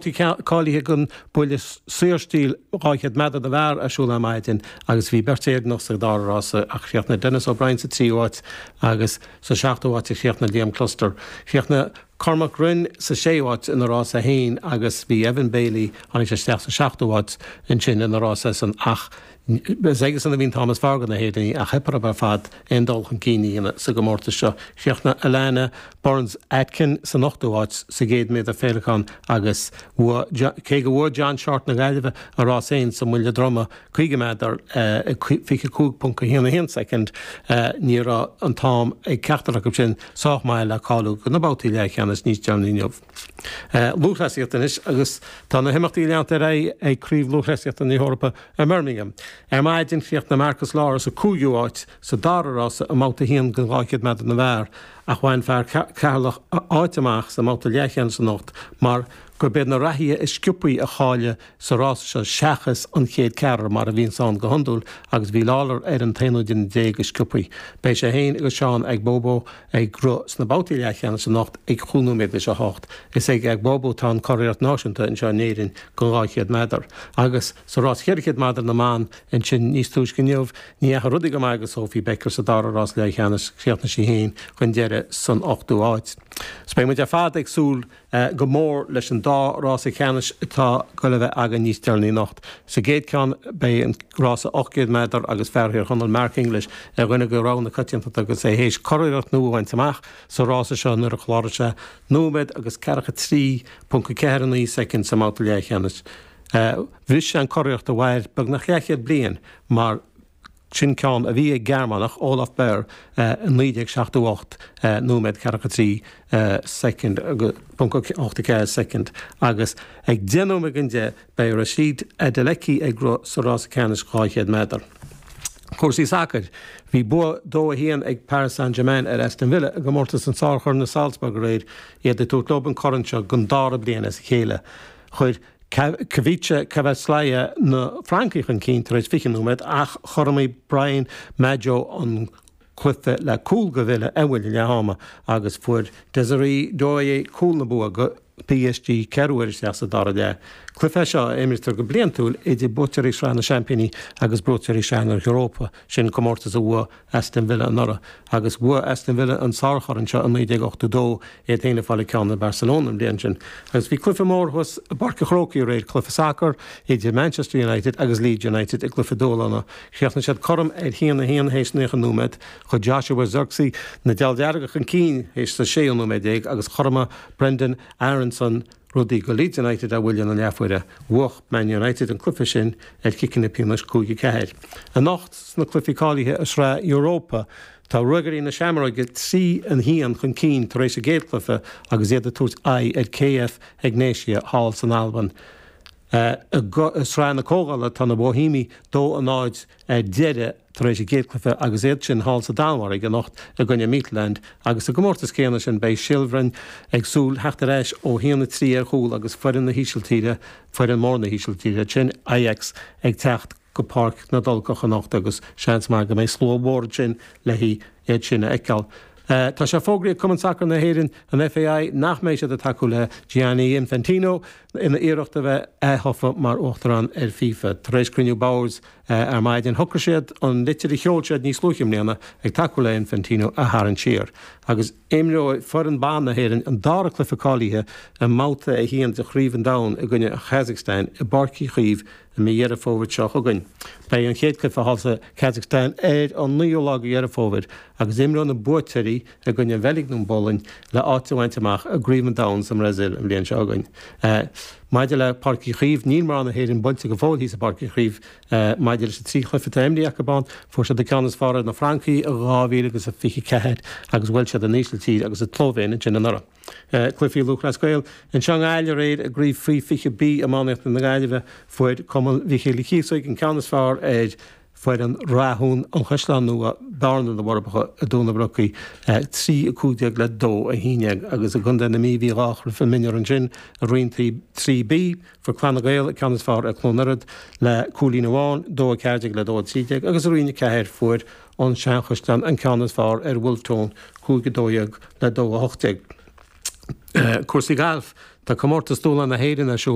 Cáilithe don bhuille saorstíl 200 méadar na bhfear ar siúl ar maidin agus bhí beirt Éireannach sa dara rása ach chríochnaigh Denis O'Brien sa tríú háit agus sa seachtú háit a chríochnaigh Liam Cluster. Chríochnaigh Cormac Rynne sa séú háit ina rása féin agus bhí Evan Bailey, tháinig sé isteach sa seachtú háit ansin ina rása san ach Is aigesan a bhí an t-am is fearr do na hÉireannaigh ach theip orthu ar fad aon dul chun cinn a dhéanamh sa gcomórtas seo. Chríochnaigh Alana Burns Atkin san ochtú háit sa gcéad méadar féileacáin agus bhuaigh, cé go bhfuair John Shortt na Gaillimhe a rás féin sa mbuille droma 50 méadar i 25.11 soicind, ní raibh an t-am ag ceachtar acu sin sách maith le cáiliú do na babhtaí leathcheannais níos deireanaí inniu. Lúthchleasaíocht anois agus tá na himeachtaí ag leanacht ar aghaidh ag Craobh Lúthchleasaíochta na hEorpa i mBirmingham. Ar maidin chríochnaigh Marcus Lawler sa cúigiú háit sa dara rása i mbabhta 1 den 200 méadar na bhfear ach bhain fear Cheatharlach áit amach sa mbabhta leathcheannais anocht mar gurb iad na reathaithe is sciobthaí a cháiligh sa rása seo seachas an chéad ceathrar mar a bhíonns ann go hiondúil agus bhí Lawler ar an t-aonú duine déag is sciobthaí. Beidh sé féin agus Seán Agbobo ag rith sna babhtaí leathcheannais anocht ag chúig nóiméad leis a hocht. Is ag Agbobo atá an curiarracht náisiúnta anseo in Éirinn don 200 méadar. Agus sa rás 400 méadar na mban ansin níos túisce inniu, ní dheachaigh rudaí go maith do Sophie Becker sa dara rás leathcheannais, chríochnaigh sí féin chun deiridh san ochtú háit. So beidh muid ar fad ag súil go mór leis an dá rása ceannais atá ag goil a bheith againn níos deireanaí anocht. Sa gcéad ceann beidh an rása 800 méadar agus fear Thír Chonaill Mark English ar dhuine de rogha na coitiantachta agus é théis curiarracht nua a bhaint amach sa rása seo nuair a chláraigh sé nóiméad agus ceathracha 3.49 soicind sa mbabhta leathcheannais. Bhris sé an curiarracht a mhair beagnach leathchéad bliain mar Sin ceann a bhí ag Gearmánach, Olaf Beyer, i 1978, nóiméad 43 soicind, ponc 84 soicind, agus ag 10 nóiméad don 10 beidh Rhasidat Adeleke ag rith sa rása ceannais 200 méadar. Cúrsaí sacair. Bhí bua 2-1 ag Paris Saint-Germain ar Aston Villa i gcomórtas an Sár-Choirn i Salzburg aréir, iad ag tabhairt leo an corn seo don dara bliain as a chéile. Chuir Khvicha Kvaratskhelia na Francaigh chun cinn tar éis 20 nóiméad ach chothromaigh Brian Madjo an cluiche le cúl do Villa ar bhuille leath ama agus fuair Désiré Doué cúl na bua do PSG ceathrú uaire isteach sa dara leath. Cluiche é seo a imrítear go bliantúil idir buaiteoirí Shraith na Seaimpíní agus buaiteoirí Shraith na hEorpa, sin comórtas a bhuaigh Aston Villa anuraidh, agus bhuaigh Aston Villa an sárchorn seo i 1982, iad féin ag fáil an ceann ar Barcelona an bhliain sin. Agus bhí cluiche mór thuas i bPáirc an Chrócaigh aréir, cluiche sacair idir Manchester United agus Leeds United i gcluiche dúshlána. Chríochnaigh siad cothrom ar 1-1 théis 90 nóiméad. Chuir Joshua Zirkzee na Dealbh-Dhearga chun cinn théis sa séú nóiméad déag agus chothromaigh Brenden Aaronson rudaí do Leeds United ar bhuille na leathuaire. Bhuaigh Man United an cluiche sin ar chiceanna pionóis 5-4. Anocht sna cluichí cáilithe i Sraith Europa, tá Ruagairí na Seamróige 3-1 chun cinn tar éis a gcéad chluiche agus iad ag tabhairt aghaidh ar KF Egnatia thall san Albain. I Sraith na Comhdhála tá na Boihéamaigh 2-0 ar deireadh tar éis a gcéad chluiche agus iad sin thall sa Danmhairg anocht i gcoinne Midtjylland agus sa gcomórtas céanna sin beidh Heerenveen ag súil theacht ar ais ó 1-3 ar chúl agus foireann na hÍsiltíre, foireann mór na hÍsiltíre sin, Ajax, ag teacht go Páirc na dTulcach anocht agus seans maith go mbeidh slua mhór ansin le hiad sin a fheiceáil. Tá sé fógraithe ag Cumann Sacair na hÉireann, an FAI, nach mbeidh siad ag tacú le Gianni Infantino ina iarracht a bheith aththofa mar Uachtarán ar FIFA. Tar éis cruinniú boird Ar maidin, shocraigh siad an litir a sheol siad níos luaithe i mbliana ag tacú le Infantino a tharraingt siar. Agus imreoidh foireann ban na hÉireann an dara cluiche cáilithe i mBabhta 1 de Chraobh an Domhain i gcoinne an Chazacstáin i bPáirc Uí Chaoimh i mí Dheireadh Fómhair seo chugainn. Beidh an chéad chluiche thall sa Chazacstáin ar an 9ú lá de Dheireadh Fómhair agus imreoidh na buaiteoirí i gcoinne an Bheilg nó an bPolainn le áit a bhaint amach i gCraobh an Domhain sa mBrasaíl an bhliain seo chugainn. Maidir le Páirc Uí Chaoimh, níl mná na hÉireann buailte go fóill thíos i bPáirc Uí Chaoimh. Maidir leis na trí chluiche atá imrithe acu ann, fuair siad an ceann is fearr ar na Francaigh i 2024 agus bhuail siad an Ísiltír agus an tSlóivéin ansin anuraidh. Cluichí Lúthchleas Gael anseo i nGaillimh aréir i gCraobh Faoi 20 B Iománaíochta na Gaillimhe, fuair Cumann Mhichíl Uí Chíosóig an ceann is fearr ar Foireann Rathún an Chaisleáin Nua, Bearna na bhForbacha i dTóin na Brocaí, 3, 15 le 2, 11 agus i gContae na Mí bhí dhá chluiche mionúr ansin i Roinn 3 B. Fuair Clann na Gael an ceann is fearr ar Chluain Ioraid le cúilín amháin, 2, 14 le 2, 13 agus i Roinn 4 fuair an Seanchaisleán an ceann is fearr ar Wolfe Tone, 5, 12 le 2, 18. Cúrsaí gailf, Tá Comórtas Dúshláin na hÉireann ar siúl.